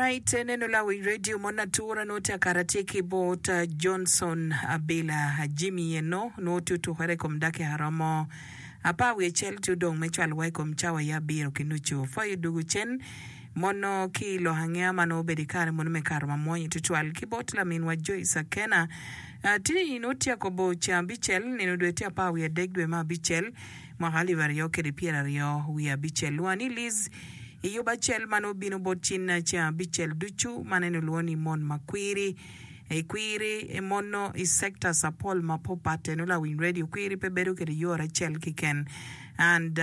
Alright, neno lawi radio mon atura nwo tye akara tye ki bot Johnson Abila Jimmy eno nwo tye otukere i kom dakika romo apar wiye acel tye odong me cwalo wa i kom cawa ya abiro ki nucu. Pwoyo dugu cen mono ki i lok angeya ma nwo obedo i kare mono me kato ma mwonyo tutwal ki bot laminwa Joyce Akena. Tini nwo tye akobo ceng abicel nino dwe tye apar wiye adek dwe me abicel mwaka alip aryo kede pyeraryo wiye abicel. Lwonga ni Liz I yub acel ma nongo bino bot cinna ceng abicel ducu, man en olwongo ni mon ma kwiri. I kwiri mon nongo i sectors apol ma popat eno lawiny radio kwiri pe bedo kede yore acel kiken and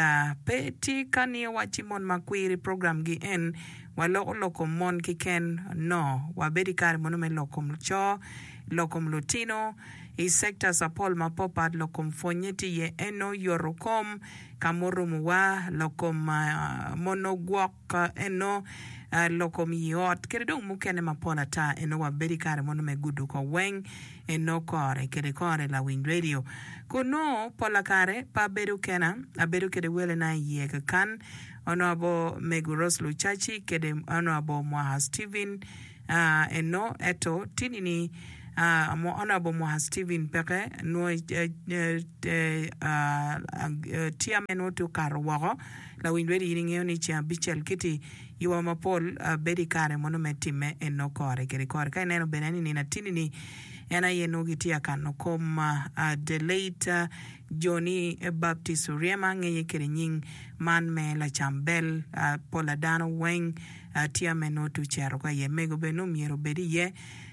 pe tye ka ni owacci mon ma kwiri program gi en waloko lok kom mon kiken no wabedo i kare mono me lok kom coo, lok kom lutino i sectors apol ma popat lok kom pwonye tye iye eno yoto kom Ka murumowa, lok kom mono gwok eno, lok kom i ot, kede dong mukene mapol ata eno wabedo i kare mono me gudo ko weng eno kore kede kore lawiny radio. Kun nongo pola kare pe abedo kena, abedo kede welena i iye kakan, Honourable Mego Rose Lucaci kede Honourable Mwaha Steven Eno eto tini ni Honourable Mwaha Steven peke nwo tye ame nwo tye okato woko lawiny redio in ingeyo ni ceng abicel kiti yuba mapol bedo ikare mono me time eno kore kede kore ka ineno bene ni nino atini ni en aye nwo gitye akano kom the late Johnny Baptist Oryema ngeye kede nying man me lacam bel pola dano weng Tye ame nongo tye ocito ka iye, mego bene nongo myero obed iye.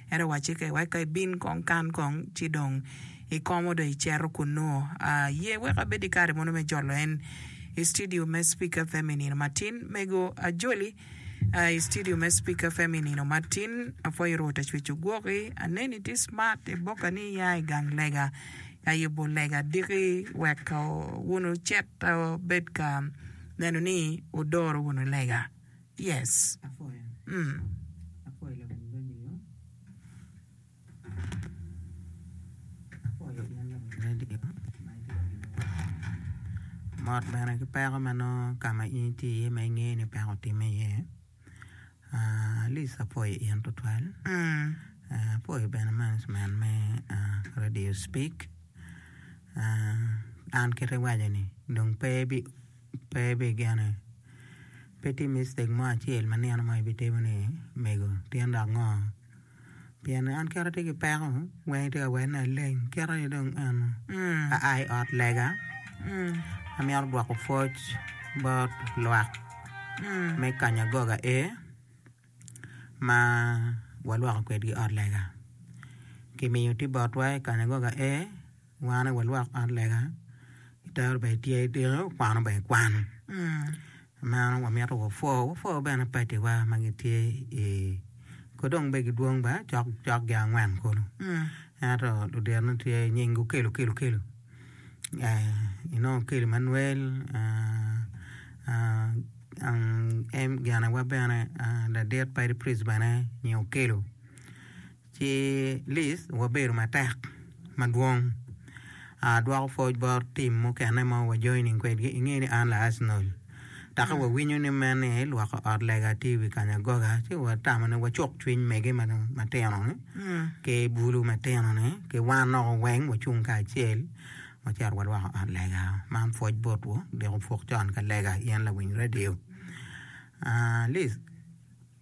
Ento owacce ke wek ka ibin kong kan kong ci dong ikomo dong icito kunnu. Aye wek abed ki kare mono me jolo en i studio me Speak FM i nino matin. Mego ajoli i studio me Speak FM i nino matin. Apwoyo Rwot Acwec ogwoki. Aneni tye smart i boka ni iya i gang lega ka yubo lega diki wek wun wucit wubed ka neno ni wudoro wunu lega. Yes. Apwoyo. Mm. Apwoyo lawiny radio. Apwoyo in lawiny radio ma itye ka winyowa. Mot bene ki peko ma nongo ka ma in itye iye ma ingeyo ni peko otimme iye. Ah, at least apwoyo in tutwal. Mm. Ah, apwoyo bene management me ah, Radio Speak. Ah, an kit iwaco ni dong pe ibi pe ibigene. Pe tye mistake mo acel ma nino mo ibitimo ni mego tyen dok ngo pien an kit atye ki peko weng itye ka wene ni aleng kit aye dong eno aa i ot lega amito dwoko pwoc bot lwak me Kanyagoga A ma walwoko kwedgi ot lega kimiyo tye botwa i Kanyagoga A. Wan aye walwok ot lega, itero bene tye idiko kwano bene ikwano. Meno wamito wapwo, wapwo bene paciwa ma gitye i ko dong bene gidwong bene cok cok gin angwen kulu. Ento luditone tye nying Okello Okello Okello inongo Okello Emmanuel ginewa bene ladit padi priest bene nyinge Okello. Ci Liz wabedo matek madwong. Adwoko pwoc bot tim mukene ma wa joining kwedgi inge ni an la Arsenal. Take wawinyo ni mene lwoko ot lega tye i wi Kanyagoga ci watamo ni wacuk cwiny mege matino ni ki bulu matino ni ki wan noko weng wacung kacel wacito walwoko ot lega. Man pwoc botwu dok opuk con ka lega in lawiny radio. Liz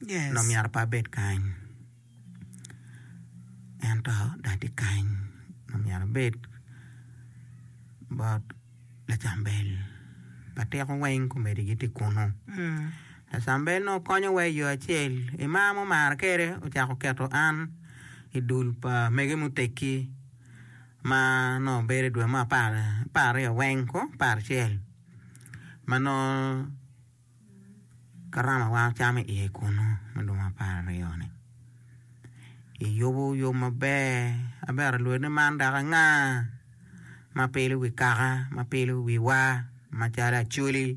Yes. nongo myero pe abed kany. Ento dong atye kany ma myero abed bot lacambel pa tiko weng komedi gitye kunu. Lacambel nongo konyowa i yo acel i mar ma omara kwede ocako keto an i dul pa mege muteggi ma nongo bedo i dwe mo apar aryo weng ko aparacel ma nongo Karama wa ocamo iye kunu me dwong apararyo-ni iyubo yub maber aber alwod ni man dok anga ma pilo wi kaka ma pilo wiwa macalo acholi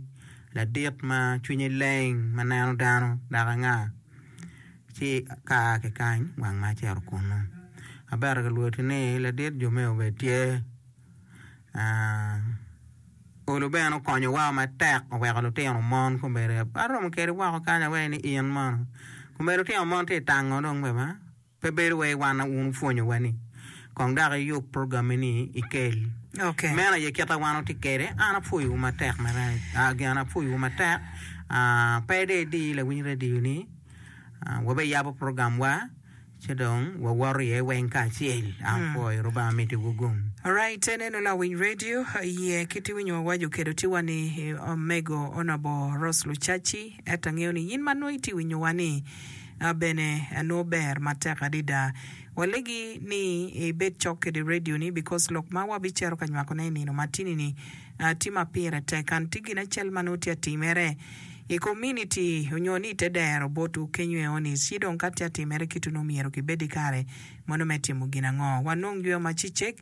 ladit ma cwinye leng ma neno dano dok anga ci ka aa ki kany wang ma acito kunu aber alwod ni ladit jo me obed tye. Olo bene okonyowa matek oweko lutino mon kombeddi aromo kedi woko kany aweko ni in mono. Komedi lutino mon tye tango dong bene pe bedo wai wan wun wupwonyo wa ni kong dok iyub program ni ikel. Okay. Meno aye kita wan watye kwede. An apwoyo wu matek marac. Ah, gin apwoyo wu matek. Ah, pe dong idi lawiny radio ni ah, wabiyabo program wa ci dong wawoto iye weng kacel. Apwoyo Rubanga miti wu gum. Alright, eneno lawiny radio iye kit iwinyo wawaco kedo tiwa ni omego Honourable Rose Lucaci Ento angeyo ni in ma nongo itye winyowa ni bene nongo ber matek adada. Walegi ni ibed cok kede radio ni because lok ma wabicito ka nywako ne i nino matini ni tye ma pire tek and tye gin acel ma nongo tye atimere i community onyo ni ite dero botwu kenyo eoni ci dong ka tye atimere kitu nongo myero kibed ki kare mono me timo gin ango. Wanong yweyo ma cicek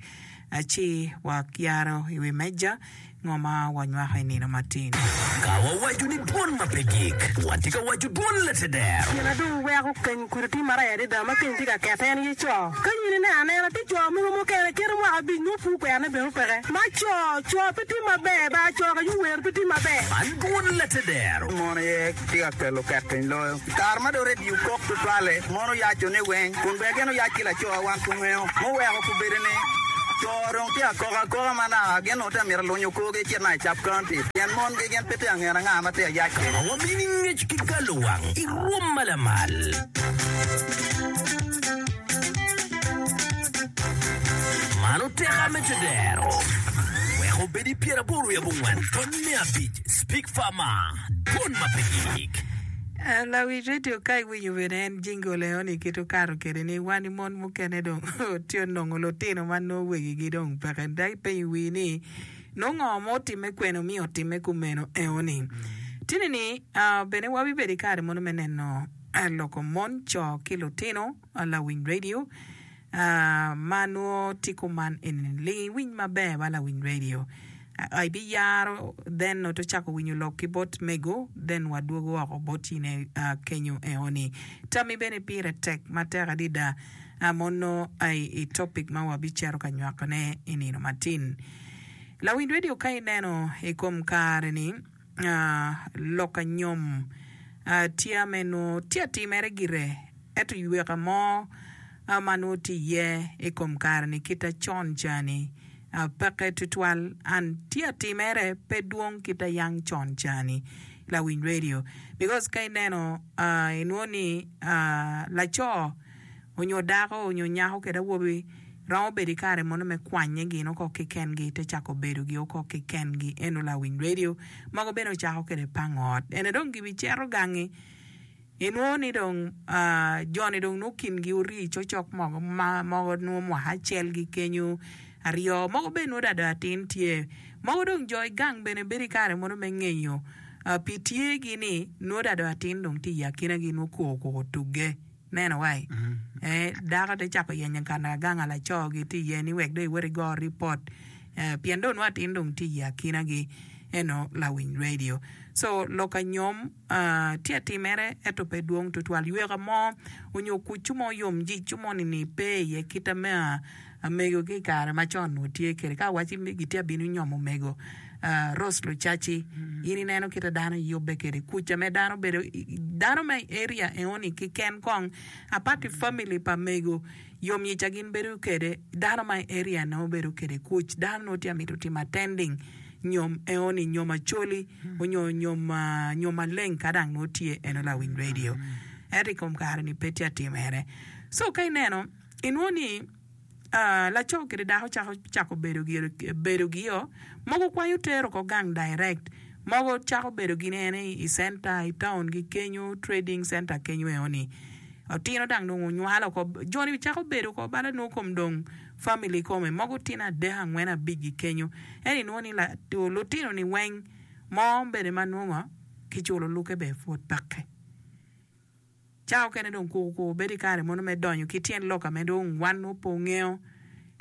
ci wayaro i wi meja. Ngo ma wanywako i nino matin? Ka wawaco ni dwon ma pe gik, watye ka waco dwon lateder. Gin na dong weko keny kudi tye marac adada ma keny tye ka kete en aye co. Ka in ineno anena tye co mogo mukene kite mwaka abic nongo pur kwerone bene peke. Ma co, co pe tye maber ba co ka yuwer pe tye maber. Man dwon lateder. Mon aye tye ka kelo ket piny loyo. I kare ma dong redio kok tutwalle, mon oyaco ni weng, kun bene gin oyac ki laco wan pe ongeyo. Muweko kubedo ni co dong tye ka kok akoka ma naka gin onongo tye ka mito lunyo korgi ecit naka i Cap County pien mongi gin pe tye ka ngene anga ma tye ka yac kwede. Ma wamini ngec ki galo wang i rwom ma lamal. Man oteka me tedero. Wek obed i pyeraboro wiye abongwen tony me abic Speak Farmer, Dwon ma pe gik. Lawic radio ka iwinyo bene en jingle eno ni kit okato kede ni wan mon mukene dong tye onongo lutino ma nongo wegi gi dong peke dok ipenyo wii ni nongo ngo ma otime kwene omiyo otime kumeno eno ni tini ni bene wabibedo ikare mono me neno loko mon co ki lutino lawiny radio Ma nwo tye kuman eni ling iwiny maber ba lawiny radio ibiyaro then nongo to cako winyo lok ki bot mego then wa dwogo woko bot in kenyo eo ni tami bene pire tek matek adida mono i topic ma wa bicito ka nywako ne i nino matin lawiny radio ka ineno i kom kare ni lok anyom tye me nwo tye atimere gire ento yweka mo ma nongo tye iye i kom kare-ni kita con ca-ni peke tutwal and tye atimere pe dwong kita yang con ca-ni lawiny radio because ka ineno inwongo ni laco onyo dako onyo nyako kede awobi romo bedo i kare mono me kwanye gin oko keken-gi te cako bedo gi oko keken-gi eno lawiny radio mogo bene ocako kede pango ot ene dong gibicito gangi Inwongo ni dong jo-ni dong nongo kingi ori cokcok mogo ma mogo nongo mwaka acel gi kenyo aryo mogo bene nongo dong atin tye mogo dong jo i gang bene bedo i kare mono me ngeyo pi tye gi ni nongo dong atin dong tye i akinagi nongo koko koko otugge ineno wai dako te cako yenyo ka gang a laco gi tye iye ni wek dong iwot igo ripot pien dong nongo atin dong tye i akinagi eno lawiny radio co lok anyom Tye atimere ento pe dwong tutwal. Yweka mo onyo kucu mo yom jicu mo ni pe iye kita me amego ki i kare macon onongo tye kwede. Ka awacci ni gitye abino nyomo omego Rose Lucaci, in ineno kita dano yubbe kwede. Kuca me dano bedo dano me area enoni keken kong apart ki family pa mego yom yica gin bedo kwede dano ma i area nongo bedo kwede kuc dano nongo tye amito timo attending nyom enoni nyom Acholi. onyo nyom maleng ka dang nongo tye eno lawiny radio ento i kom kare ni pe tye atimere so ka ineno inwongo ni laco kede dako cako cako bedo bedo gio mogo kwanyo tero oko gang direct mogo cako bedo gin ene i center i town gi kenyo trading center kenyo eno ni otino dang dong onywalo oko joni cako bedo oko bala nongo kom dong family kome mogo tino adek angwen abic gi kenyo Ento inwongo ni lutino-ni weng mo bene ma nongo kiculo lukke bene pwod peke. Cawa okene dong kukuku bedo i kare mono me donyo ki tyen lok ame dong wan nongo pe ongeyo.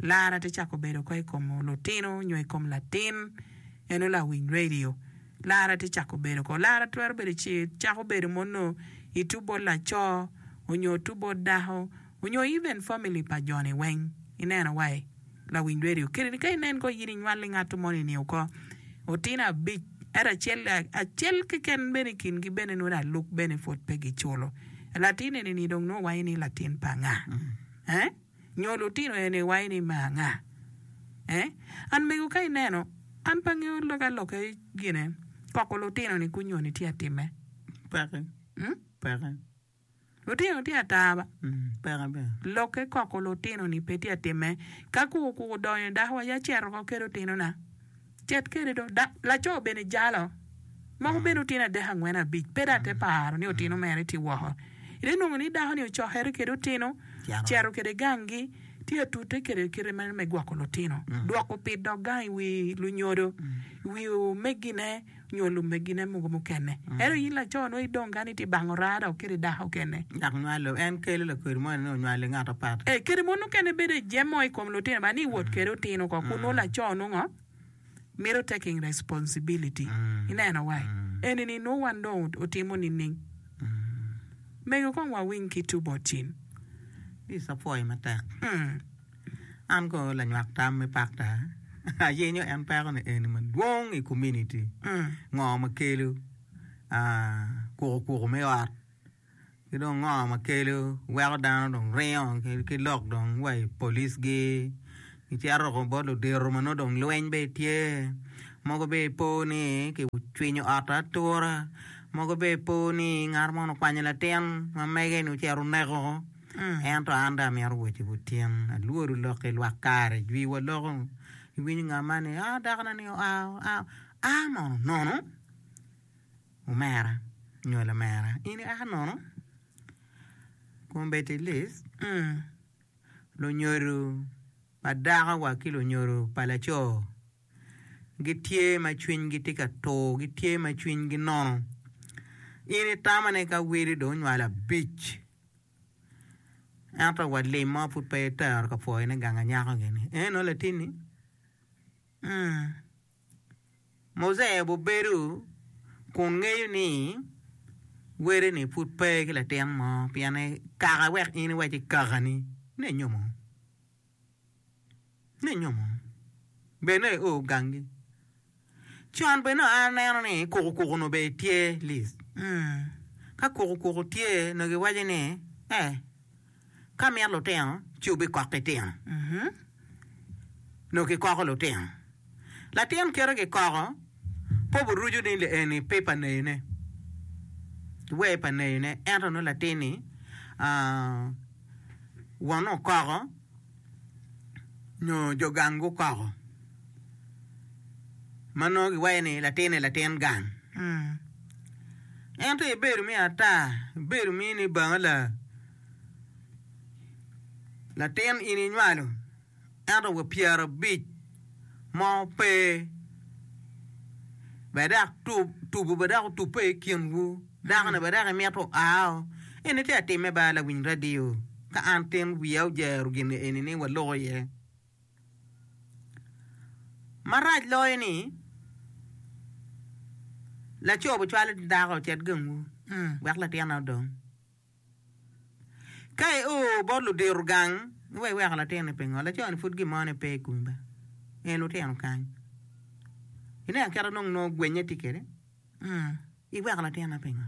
Lara te cako bedo oko i kom lutino nyo i kom latin eno lawiny radio. Lara te cako bedo oko. Lara twero bedo ci cako bedo mono itu bot laco onyo tu bot dako onyo even family pa joni weng ineno wai. Lawiny radio kadi ka inen ko in inywali ngat moni ni oko otino abic ento acel acel keken bene i kingi bene nongo aluk bene pwod pe giculo. Latin eni-ni dong nongo waco ni latin pa anga? Eh? Nyo lutino eni waco ni me anga? Eh? An mego ka ineno, an pe angeyo ka lokke gine, koko lutino-ni kunyo-ni tye atimme. Peke. Hmm? Peke. Lutino tye ata ba. Peke bene. Lokke koko lutino-ni pe tye atimme. Ka kuku kuku odonyo dako wa ya cito oko kede otinona. Cet kede do. Da, laco bene jalo. Moko bene otino adek angwen abic. Pe dong ate paro ni otino mere tye woko. Ite nongo ni dako ni ocokere kede otino, cito kede ganggi, tye atute kede kite mere me gwoko lutino. Dwoko pit dok gang i wi lunyodo, i wi omegine nyo lumegine mogo mukene. Ento in laco nongo idong kany itye bango raa dok kede dako kene. Dok nywalo, en kelo lakwedi moni ni onywalo i ngat apat. Ee, kede mon mukene bedo i jemo i kom lutino ba ni wot kede otino ko kun nongo laco nongo mito taking responsibility. Ineno wai? Eni ni nongo wan dong otimo nining? Mego kong wawiny ki two bot cin. This apwoyo matek. An kono lanywak tam me pakta, ayenyo en peko ni eni madwong i kominiti. Ngo ma kelo kuku kuku me ot ki dong ngo ma kelo weko dano dong ringo ki lok dong wa i police gi gicito woko bot ludito ma nongo dong lweny bene tye mogo bene ipo ni ki cwinyo ot atura mogo bene ipo ni ngat mo okwanyo latin ma mege ni ocito oneko. Ento an dong amito wocci butyen, alwodo lok i lwak kare jwi waloko, iwinyo nga ma ni, aa dakona ni oa, oa, a mono nono? Omera nyo lamera, in ia nono? Kombeddi Liz, lunyodo pa dako wa ki lunyodo pa laco gitye ma cwinygi tye ka tur, gitye ma cwinygi nono. In itamo ni ka weli dong onywalo abic, Ento wa lim mo pud pe itero ka pwoyone gang anyako gini. Eno latinni? Muzee obedo kun ngeyo ni wele-ni pud pe ki latin mo pien kaka wek in iwac ki kakani ni inyomo. Ni inyomo. Bene io gangi. Con bene nongo an aneno ni kukukuku onongo bene tye Liz. Ka kukukuku tye nongo giwaco ni eh ka mito lutino ci wubikok ki tino. Nongo kikoko lutino. Latin kite kikoko pe obiruco ni eni pe pa neyone, wer pa neyone ento nongo latin-ni wonne okoko nyo jo gang gukoko. Ma nongo giwaco ni latin-ni latin gang. Ento ibedo me ata, ibedo me ni banga la latin in inywalo ento wa pyerabic mo pe bene dok tubo bene dok otubbe i kinwu dako-ni bene dok imito oao eni tye ka timme ba lawiny radio ka an tin wiya ojero gin eni ni waloko iye. Marac loyo ni, laco bicwalo dako ocit gangwu wek latinne odong. Ka io bot ludito gang, iwek iweko latinni pingo? Laco-ni pud gin mone pe i komi ba, en lutino kany. Ineno kit ma dong nongo gwenye tye kwede? Iweko latinna pingo?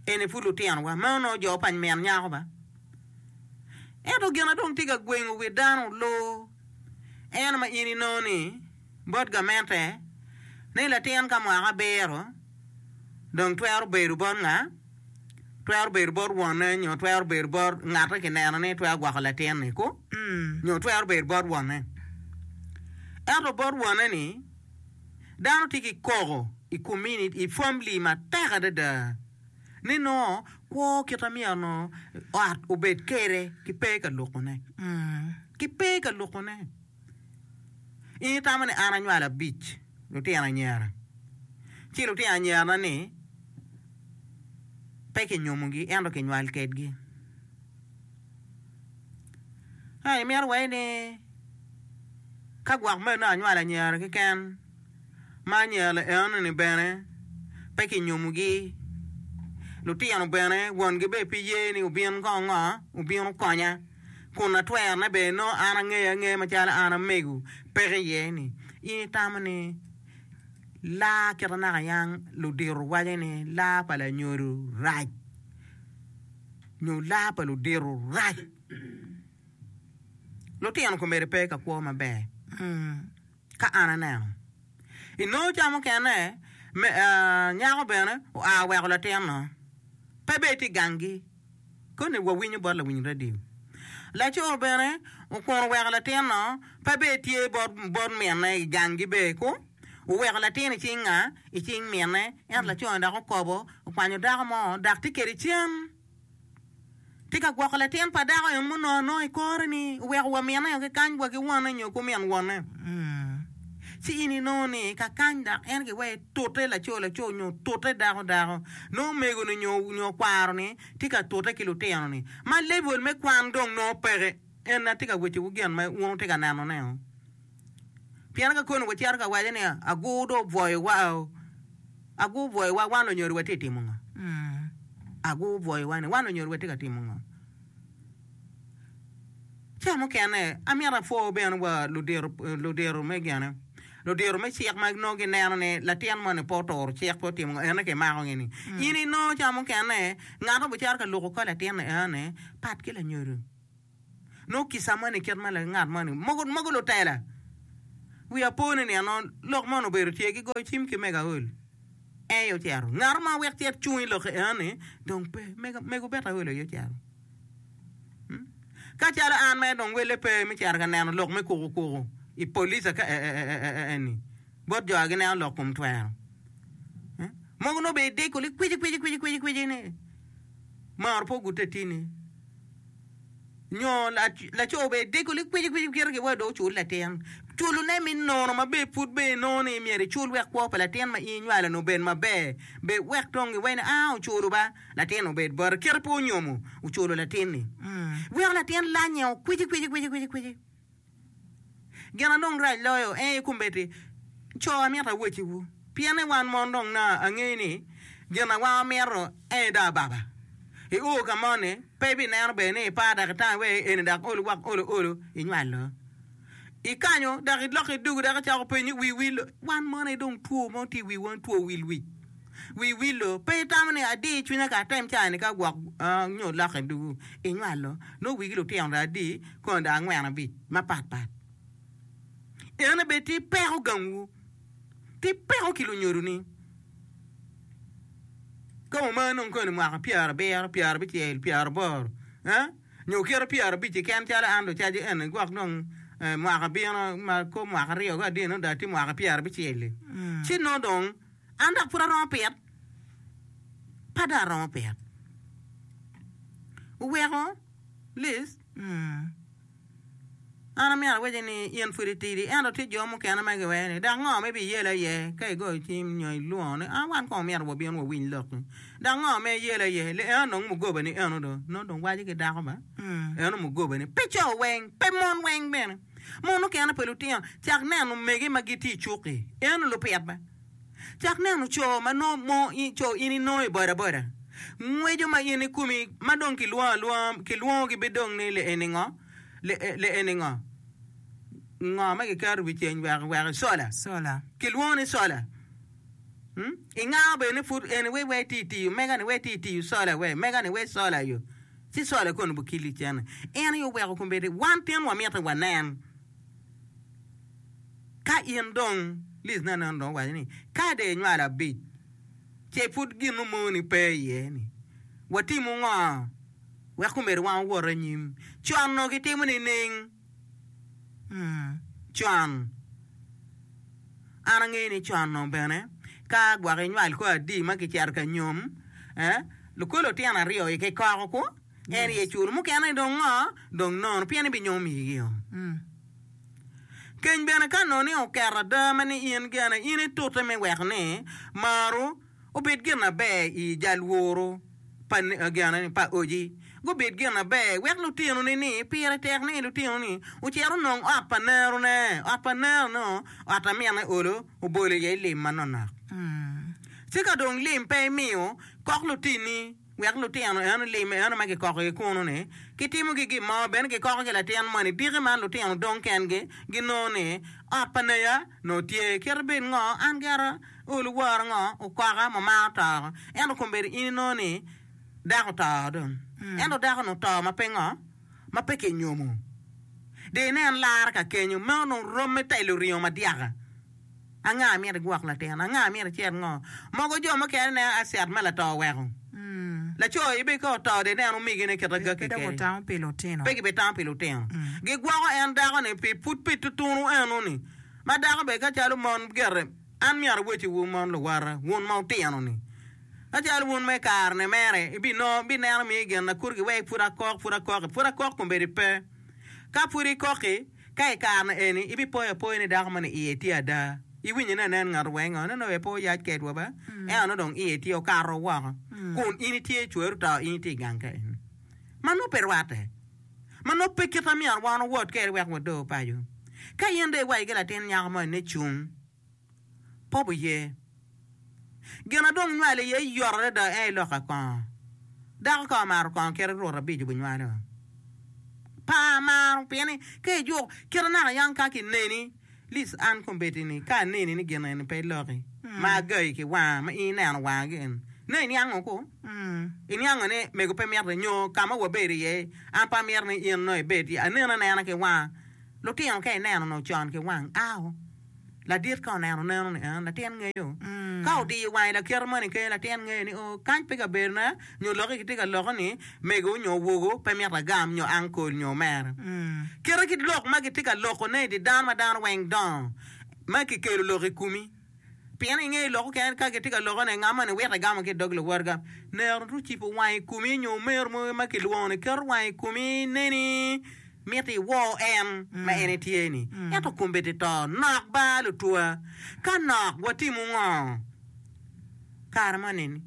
Eni pud lutinowa, meno nongo jo pa min nyako ba. Ento gin ma dong tye ka gwengo wi dano oloo en ma in inongo ni bot gamente ni latin ka mwaka abiro dong twero bedo bot nga? Twero bedo bot wonne nyo twero bedo bot ngat ma kineno ni twero gwoko latin-ni ku? Nyo twero bedo bot wonne. Ento bot wonne-ni dano tye ki koko i kominiti, i famili matek adada ni nongo kwo kit ma myero nongo ot obed kwede ki pe ka lukone, ki pe ka lukone. In itamo ni an anywalo abic lutino anyira, ci lutino anyirana ni pe kinyomogi ento kinywal kedgi. Ento imito wai ni ka gwok meno anywalo anyira keken ma anyira enoni bene pe kinyomogi, lutino bene wongi bene pe ye ni obin kong ngo obin okonya kun atwerone bene nongo an angeyo angeya macalo an amego peke iye ni in itamo ni laa kite naka yang ludito waco ni laa pa lanyodo rac. nyo laa pa ludito rac. Lutino komedi pe ka kwo maber ka an aneno. Inongo ca mukene nyako bene oa oweko latin-nu pe bene tye i ganggi koni wawinyo bot lawiny radio. Laco bene okwongo weko latin-nu pe bene tye bot minne i ganggi bene ku oweko latin i cing nga? I cing minne ento laco-ni dok okobo okwanyo dako mo dok tye kwede cen. Tye ka gwoko latin pa dako en munongo anonga i kore-ni, oweko wa minne ki kany wa ki wonne nyo ki omin wonne. Ci in inongo ni ka kany dok en giweko tute laco laco nyo tute dako dako, nongo omego-ni nyo kwaro-ni tye ka tute ki lutino-ni ma level me kwan dong nongo peke. En atye ka wecciwu gin ma wun wutye ka nenone-o. Pien ka koni wacito ka waco ni agur dong obwoyowa-o, agur obwoyowa wan lunyodo watye ka timo ngo? Agur obwoyowa ni wan lunyodo watye ka timo ngo? Ca mukene amito apwo bene wa ludito me gene, ludito me cik ma nongo gineno ni latin moni pe oturo cik pe otimo ngo ene kimako gi ni. In inongo ca mukene ngat obicito ka luko kor latin ni ene pat ki lanyodo. Nongo kica moni kit ma ngat moni mogo mogo lutela wiya po ni nino lok moni obedo tye gigoyo cim ki mego aol en aye ocito ngat mo wek cet cung i lok eno-ni dong pe mego bene aol aye ocito ka calo an mere dong wele pe me cito ka neno lok me kuku kuku i polica ka eni bot jo a gineno lok kom twero mogo nongo bene idiko ni kwici kwici kwici kwici kwici ni maro pe ogute tini. Nyo laco bene dego likwicikwici kite ki wa dong ocul latin. Culone me nono ma bene pud bene inongo ni myero icul wek kwo pa latin ma in inywalo-ni obed maber. Bed wek dong iwaci ni aa oculo ba, latin obed bote. Kite pe onyomo, oculo latin-ni. Weko latin lanye okwicikwici. Gin a dong rac loyo en aye kombeddi co amito awacciwu, pien ni wan mon dong na angeyo ni gin a wan wamito en aye dong ababa. I o ka mo ni pe ibineno bene ni ipar dok itange wek eni dok olo gwok olo olo inywalo. Ikanyo dok iloko idugu dok icako penyo wi wil wan mon aye dong two mo tye i wiwa two wil wic. Wi wil pe itamo ni adi cwinya ka atem ca ni ka gwok nyo olokke dugu inywalo nongo wigi lutino dong adi kono dong angwen abic mapat pat. Ene bene tye peko gangwu, tye peko ki lunyodoni. Ka omar nongo koni mwaka pyerabiro, pyerabicel, pyeraboro, nyo kite pyerabic keken calo an lucaci eni gwok dong mwaka bino ma kor mwaka aryo ki adek nongo dong atye mwaka pyerabicel-li ci nongo dong an dok pud aromo pit, pe dong aromo pit. Oweko Liz, An amyero awacci ni in pud itidi, ento tye jo mukene ma giweko ni, 'Dok ngo ma ibiyelo iye ka igoyo cim nyo ilwongo ni, 'A wan kong omyero wabin wawiny lokki. Dok ngo ma iyelo iye? Li eno dong mugobani eno do. Nongo dong waco ki dako ba, eno mugobani. Pe co weng, pe mon weng bene. Mon mukene pa lutino, cak neno omege ma gitye i cuk-ki, eno lupit ba. Cak neno co ma nongo mo co in inongo i bodaboda, ngweco ma in ikomi ma dong kilwongo alwonga, kilwongogi be dong ni eni ngo, le eni ngo, ngo ma giketo i wi ceng wek wek cola, Cola. kilwongo ni cola. Hmm? Ingao bene ni pud eni we we ti tiyo mega ni we ti tiyo cola we mega ni we cola yo. Ci cola kono bukili cene. En aye oweko kombeddi wan tin wamito wanen. Ka in dong, Liz nene dong owaco ni, ka dong inywalo abic, ce pud gin mo-ni pe iye ni, watimo ngo wek omedde wan owot anyim? Con onongo gitimo nining? Con, an angeyo ni con onongo bene ka gwok inywal kor adi ma kicito ka nyom, lukolo lutino aryo aye kikoko ku. En aye culo mukene dong ngo? Dong nono pien ibinyomo migi-o. Keny bene ka nongo ni oketo ada ma ni in gene, in itute me weko ni maru obed gin maber i jal woru pa gene pa oji gubed gin maber wek lutinoni ni pire tek ni lutinoni ocit onong ot pa nerone, ot pa nerone ot a mine olo obolo iye lim manonok. Ci ka dong lim pe imiyo kok lutini. Wek lutino eno lim eno ma kikokogi kunu-ni, kitimogi gin mo bene kikoko ki latin moni. Diki man lutino dong kengi ginongo ni ot pa neya nongo tye. Kite bed ngo, an gira olo wora ngo, okoka mamaro toko. Ento kombeddi in inongo ni. Dako oto dong. Ento dako-nu oto ma pe ngo? Ma pe kinyomo. Dong inen lara ka kenyo, meno dong rom me telo ringo madyaka. Anga myero igwok latin? Anga myero icit ngo? Mogo jo mukene nen acet ma lato oweko. Laco aye bene ka oto dong ineno omegine kite gakki Pe dok kede. otamo pi lutino. Pe gibitamo pi lutino. Gigwoko en dako-ni pi pud pi tutunu eno-ni. Ma dako bene ka calo mon gire, an myero awecciwu mon luwota, wun ma wutino-ni. Ka calo wun ma i kare-ni mere, ibinongo, ibineno miyo gin na kuro giwek pud akok, pud akoki, pud akok kombeddi pe. Ka pud ikoki, ka i kare-ni eni, ibipoyo apoya ni dako moni iye tye ada. Iwinyo ni anen ngat weng ngo, nongo pe oyac kedwa ba, ento nongo dong iye tye okato woko, kun in itye cweri oto, in itye i gang ka eni. Ma nongo pe rwatte. Ma nongo pe kit ma myero wan owot kwede wek wador paco. Ka in dong iwaco ki latin nyako moni ni cung, Pop oye. Gin a dong nywalo iye yot adada en aye lok akongo. Dako ka omaro kongo kite rut abic obinywalo. Pa amaro pien ni ka ijuk kite naka yang ka kineni Liz an kombeddi ni ka aneni ni gin eni pe iloki ma agayi ki wanga ma in ineno wanga gin nongo iniango ku? Iniango ni mego pe miti nyo ka ma wabedo iye an pe amito ni in nongo ibed iye aneni anena ki wanga. Lutino ka ineno nongo con ki wang ao. Ladit ka oneno neno ni en latin ngeyo. Ka odiyo wange lakite moni kenyo latin ngeyo ni oo kany pe kabedona nyo lokke kitye ka loko ni mego nyo wogo pe mito agam nyo ankol nyo omera. Kite ki lok ma kitye ka loko ne idi dano ma dano weng dongo ma kikelo lok ikumi. Pien inge lok okene ka kitye ka loko ne nga moni wito egamo ki idog luwotga. Nero tu cipo wange ikumi nyo omeru mo ma kilwongo ni keto wange ikumi neni. Mito iwor en ma en etye-ni. Ento kombeddi to nok ba lutwa. Ka nok, watimo ngo? Kare mo nini,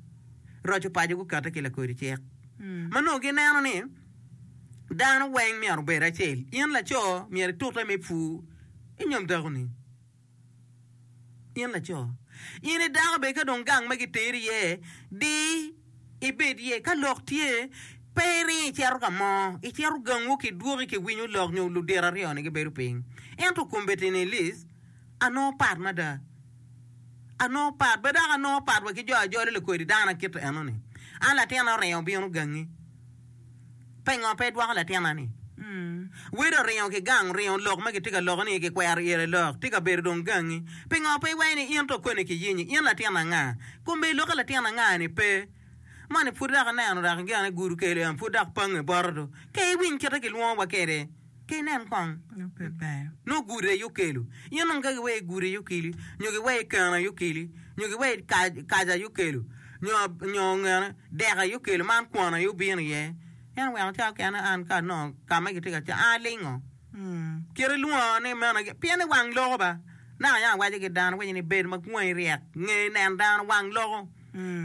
roco paco gukette ki lakodi cik ma nongo gineno ni dano weng myero obed acel. In laco myero itute me pur inyom dakoni. In laco, in i dako bene ka dong gang ma giteri iye, di ibed iye. Ka lok tye, pe iring icito ka mo, icito gangwu kidwoki kiwinyo lok nyo ludito aryo-ni gibedo piny. Ento kombeddi-ni Liz, anongo pat mada. Anongo pat, bed dok anongo pat wa ki jo ajoli lakodi dano akite enoni. An latinna oringo obino gangi. Pingo pe idwoko latinna-ni? Wede oringo ki gang, oringo lok ma kitye ka loko ni kikwero ire lok, tye ka bedo dong gangi. Pingo pe iwaco ni in to koni kiyinyi? In latin anga? Kombe ilokke latin anga-ni pe. Moni pud dok ineno dok gin gudo kelo en pud dok pange bote do. Ka iwiny kite kilwongowa kwede, ka inen kong. Nongo gudo aye okelo. In dong ka giweyo gudo aye okeli, nyo giweyo keno aye okeli, nyo giweyo kaca aye okelo, nyo ngene dek aye okelo man kwon aye obino iye. En oweko cawa kene an ka anongo ka ma gitye ka cam an alingo. Kit ilwongo ni meno pien ni wang loko ba. Naka yam awaco ki dano awaco ni bed ma wangi ryek nge nen dano wang loko.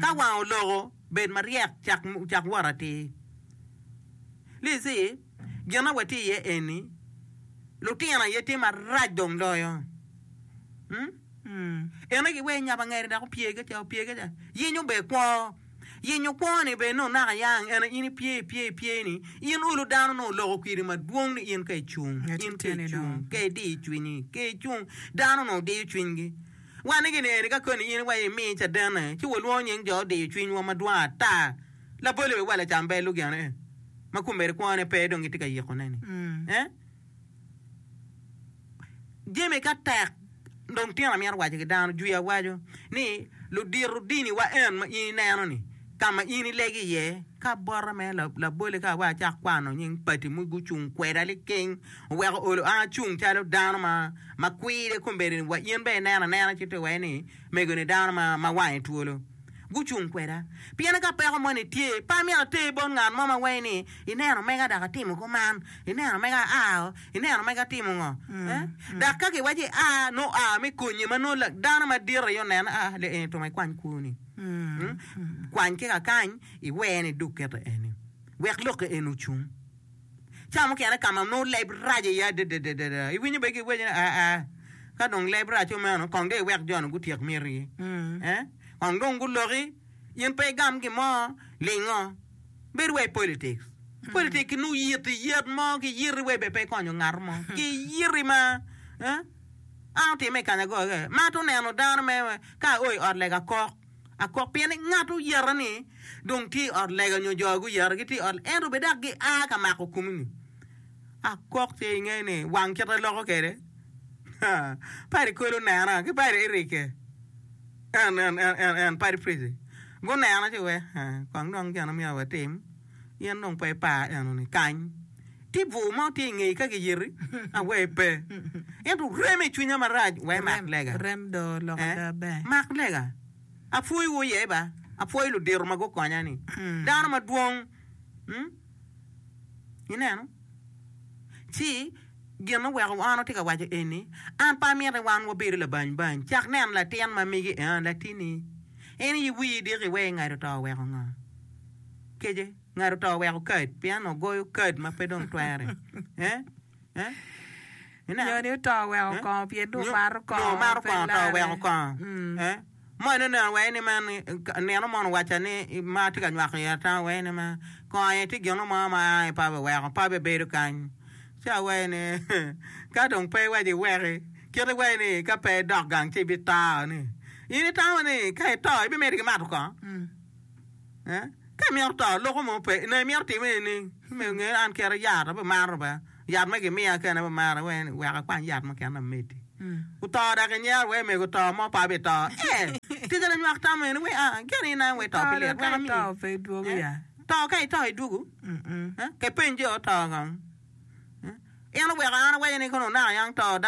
Ka wang oloko bed maryek cak cak wot atir. Lizi gin ma watye iye eni lutino aye tye marac dong loyo. Ene giweyo nyabo angeri dok opye ka ca opye ka ca yenyo bene kwo. Yenyo kwo-ni bene nongo naka yang ene in ipye ipye ipye ni in olo dano nongo oloko kwedi madwong ni in ka icung in ka icung ka idiyo cwinyi ka icung dano nongo diyo cwinygi. Wan ni gin eni ka koni in iwaco imi cadenne ci walwongo nying jo odiyo cwinywa madwong ata labole wa lacam bel lugene ma kombeddi kwone pe dong gitye ka yikone ni eh. Jami ka tek dong tyen amito waco ki dano jwi awaco ni ludito dini wa en ma in ineno ni ka ma in ilego iye ka bota me labole ka wa acak kwano nying pati ma gucung kweda liking oweko olo an acung calo dano ma ma kwiri kombeddi wa in bene ineno anena ci to iwaco ni mego ni dano ma wange twolo. Gucung kweda. Pien ka peko moni tye, pe amyero ater bot ngat mo ma waci ni, 'Ineno mega dok atimo kuman, ineno mega aa, ineno mega atimo ngo. Dok ka giwaco ia, nongo oa me konyi ma nongo dano madit aye oneno, aa, lee eni twongo ikwany kwoni. Kwany ki kakany, iwene idug kete eni, wek lokke eni ocung. Ca mukene ka ma nongo leb rac iye adadadada, iwinyo bene giwaco ni, Aa, ka dong leb rac omeno, kong dong iwek jo-nu gutyek mitigi. Eh? Kong dong guloki, in pe igam gin mo, lingo. Bed wa i politics. Politics nongo yiti yet mo, kiyiti wa bene pe ikonyo ngat mo. Kiyiti ma, eh? An otimme i Kanyagoga, ma ato neno dano me, ka ao i ot lega kok. Akok pien ni ngat oyeta ni dong tye i ot lega nyo jo guyeta gitye i ot ento bene dok gia ka mako komi-ni. Akok tye inge ni wang kite loko kwede. Padi Kwel onena ki padi Erike en en en en en padi Prezi gunena ci we kong dong gin myero watim in dong pe ipar enoni kany tye bur mo tye ingeyi ka giyeti awer pe ento rem i cwinya marac wek mak lega Rem do lok ada ber. Mak lega apwoyi iye ba apwoyo ludito ma gukonya ni dano madwong Ineno? Ci gin oweko an atye ka waco eni, an pe amito ni wan wabedo labany bany. Cak neno latin ma megi, aa, latinni, en aye wiyi diki iwe ingado to oweko ngo? Kece, ngado to oweko kad, pien ogoyo kad ma pe dong twere. Eh? Eh? Ineno? Nyo ni oto oweko Eh? kongo pien dong Nyo- omato nyo omato kongo pe kongo to larre. oweko kongo. Mm. Eh? Moni oneno wai ni man nino mono owacca ni ma atye ka nywako iye ata wai ni ma kongo aye tye gino mo ma aa pe abiweko pe abibedo kany ci awai ni ka dong pe iwaco iweki kit iwai ni ka pe idok gang ci ibito ni in itamo ni ka ito ibimedo ki mato kongo eh ka imito to loko mo pe nongo imito time nining me nge an kite yat abimato bene Yat ma gimiya kene bimara wek ni wek akwany yat mukene ameddi. Oto dok inyero wek mego to mo pe abito. Eh, tika lanywak tamo eni wek a gin in aye wek to To pi dong lit ka wek ito amiyi. pe idwogo Eh, ya. to ka ito idwogo. Mm-mm. Eh, ke peny jo oto kong. Eh, en oweko an awaco ni kono onaka yang to.